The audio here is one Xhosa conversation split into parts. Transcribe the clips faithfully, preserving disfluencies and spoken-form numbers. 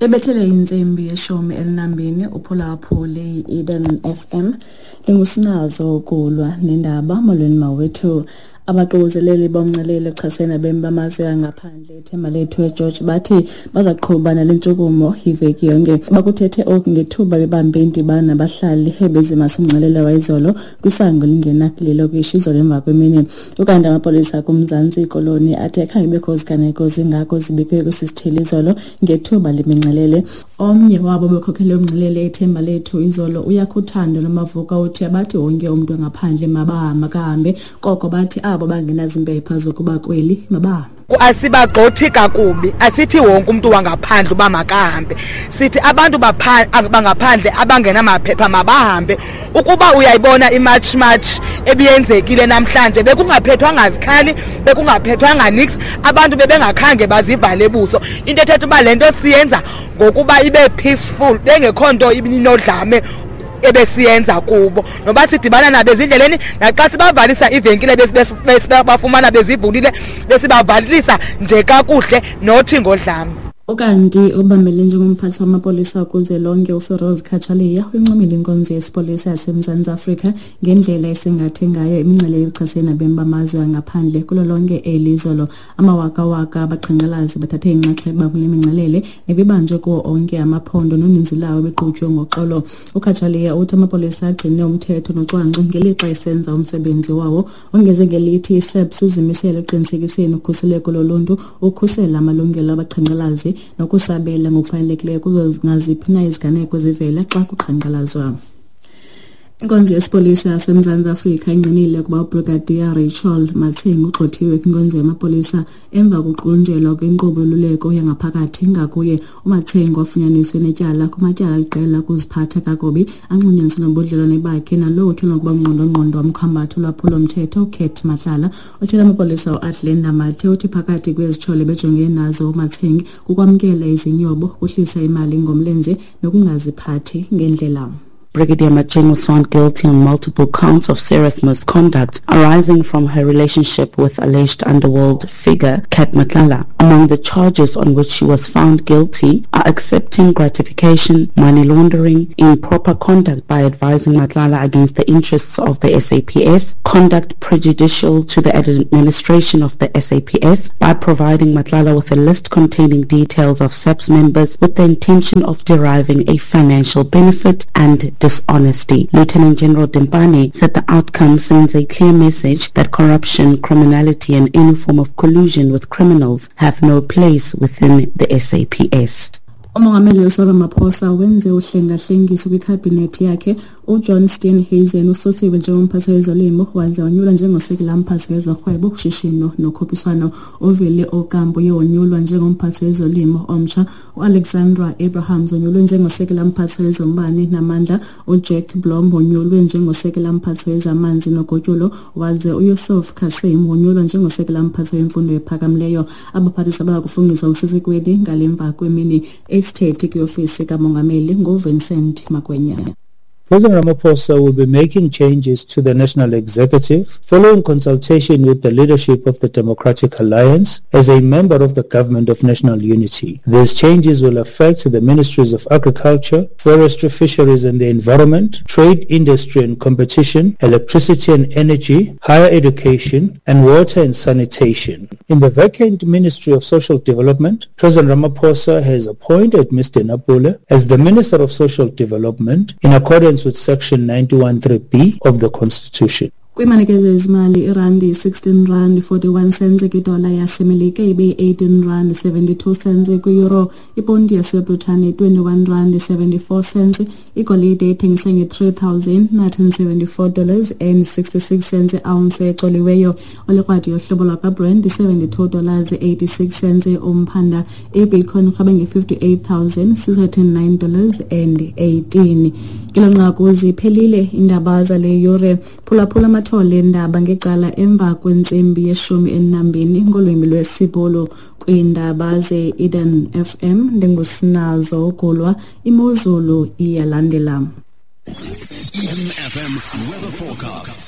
Ebethele intsimbi yeshumi elinambini uphulaphule i-Eden F M. Ndingusinazo ukulwa nendaba. Molweni mawethu. Abaququzeleli bomngcelele ochasene nabemi bamazwe angaphandle ithemba lethu eGeorge bathi bazaqhuba nale ntshukumo iveki yonke. Bakuthethe oku ngethuba bebambe indibano nabahlali ebezimasa umngcelele wayizolo kwisango elingena kule lokishi izolo emva kwemini. Ukanti amapolisa kuMzantsi Ikoloni athe akhange kubekho ziganeko zingako zibikwe kwesi sithili izolo ngethuba lemingcelele. Omnye wabo bekhokhele umngcelele ithemba lethu izolo uYakhuthando Nomavuka uthi abathi wonke umntu ngaphandle mabahambe kahambe, koko bathi abo bangenazimpepha zokuba kweli mabahambe. Asibagxothi kakubi, asithi wonke umuntu wangaphandle uba makahambe. Sithi abantu bangaphandle abangenamaphepha mabahambe. Ukuba uyayibona imarch march ebiyenzekile namhlanje, bekungaphethwanga zikhali, bekungaphethwanga nix, abantu bebengakhange bazivale buso. Into ethetha uba le nto siyenza ngokuba ibe peaceful, bengekho nto ibinodlame ebesiyenza kubo. Noba sidibana nabo ezindleleni, naxa sibavalisa ivenkile bafumana bezivulile, besibavalisa nje kakuhle nothi ngodlame. Ukanti obambele njengomphathi wamapolisa kuzwelonke uFeroz Cachalia uyincomile inkonzo yesipolisa yaseMzantsi Afrika ngendlela esingathe ngayo imingcelele yokuchasene nabemi bamazwe angaphandle kulo lonke eli izolo. Amawakawaka abaqhankqalazi bathathe inxaxheba kule mingcelele nebibanjwe kuwo onke amaphondo noninzi lawo beqhutywe ngoxolo. UCachalia uthi amapolisa agcine umthetho nocwangco ngelixa esenza umsebenzi wawo. Ongeze ngelithi i-S A P S izimisele ekuqinisekiseni ukhuseleko loluntu, ukhusela amalungelo abaqhankqalazi nokusabela ngokufanelekileyo kuzo naziphi na iziganeko zivela xa kuqhankqalazwa. Inkonzo yesipolisa yaseMzantsi Afrika ingqinile ukuba uBrigadier Rachel Mathengi ugxothiwe kwinkonzo yamapolisa emva kokuqunjelwa kwenkqubo yoluleko yangaphakathi ngakuye. UMathengi wafunyaniswe netyala kumatyala aliqela okuziphatha kakubi anxulunyaniswe nobudlelwane bakhe nalowo utyholwa ukuba ngqondongqondo womkhambathi olwaphulo-mthetho uCat Matlala. Othela amapolisa uAdlenda Mathe uthi phakathi kwezityholo bejongene nazo uMathengi kukwamkela izinyobo, ukuhlisa imali ngomlenze nokungaziphathi ngendlela. Brigadier Macheng was found guilty on multiple counts of serious misconduct arising from her relationship with alleged underworld figure Cat Matlala. Among the charges on which she was found guilty are accepting gratification, money laundering, improper conduct by advising Matlala against the interests of the S A P S, conduct prejudicial to the administration of the S A P S by providing Matlala with a list containing details of S A P S members with the intention of deriving a financial benefit, and dishonesty. Lieutenant General Dimpane said the outcome sends a clear message that corruption, criminality and any form of collusion with criminals have no place within the S A P S. Umongameli uCyril Ramaphosa wenze uhlengahlengiso kwikhabhinethi yakhe. UJohn Steenhuisen ususiwe njengomphathi wezolimo waze wonyulwa njengosekela mphathi wezorhwebo, ushishino nokhuphiswano. UVili Okambo uye wonyulwa njengomphathi wezolimo omtsha. UAlexandra Abrahams wonyulwe njengosekela mphathi wezombane namandla. UJack Blom wonyulwe njengosekela mphathi wezamanzi nogutyulo, waze uYusuf Kassim wonyulwa njengosekela mphathi wemfundo ephakamileyo. Abaphathiswa bayakufungiswa usesikweni ngale mva kwemini. Isithethi kwiofisi kamongameli nguVincent Magwenya. President Ramaphosa will be making changes to the National Executive following consultation with the leadership of the Democratic Alliance as a member of the Government of National Unity. These changes will affect the Ministries of Agriculture, Forestry, Fisheries and the Environment, Trade, Industry and Competition, Electricity and Energy, Higher Education, and Water and Sanitation. In the vacant Ministry of Social Development, President Ramaphosa has appointed Mister Napule as the Minister of Social Development in accordance with Section ninety-one three B of the Constitution. Kwimanekezo ezimali, irandi sixteen rand forty-one cents kwidola yaseMelika, ibe eighteen rand seventy-two cents kwi-euro, iponti yaseBritane twenty-one rand seventy-four cents, igolide ithengiswa nge-three thousand nine hundred seventy-four dollars and sixty-six cents ounce ecoliweyo. Olikrwadi yohlobo lwakwaBrent seventy-two dollars eighty-six cents umphanda. IBitcoin irhweba nge-fifty-eight thousand six hundred nine dollars and eighteen. Kelo nqaku ziphelile iindaba zale yure. Phulaphula amathole endaba ngecala emva kwentsimbi yeshumi elinambini ngolwimi lwesiBhulu. Kwiindaba ze-Eden F M ndingusinazo Gulwa. Imozulu iyalandela. Eden F M weather forecast.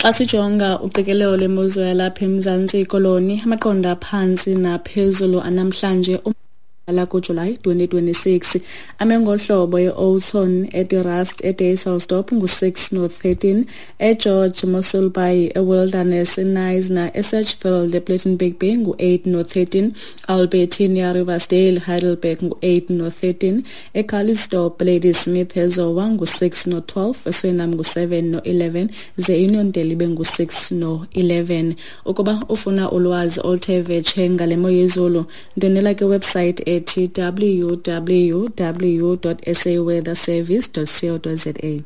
Xa sijonga uqikelelo lwemozulu yalapha eMzantsi Koloni, amaqondo aphantsi naphezulu anamhlanje la kuJulayi twenty twenty-six ame ngohlobo e-Oudtshoorn, eDe-Rust, eDysselsdorp ngu-six no-thirteen, eGeorge, Mossel Bay, eWilderness, eKnysna, eSedgefield, ePlettenberg Bay ngu-eight no-thirteen, Albertinia, Riversdale, Heidelberg ngu-eight no-thirteen, eCalitzdorp, Ladysmith, eZowa ngu-six no-twelve, eSuriname ngu-seven no-eleven, ze Uniondale ibe ngu-six no-eleven. Ukuba ufuna ulwazi oluthe vetshe ngale mo yezulu, ndwendwela kwiwebsite ethi w w w dot s a weather service dot co dot z a.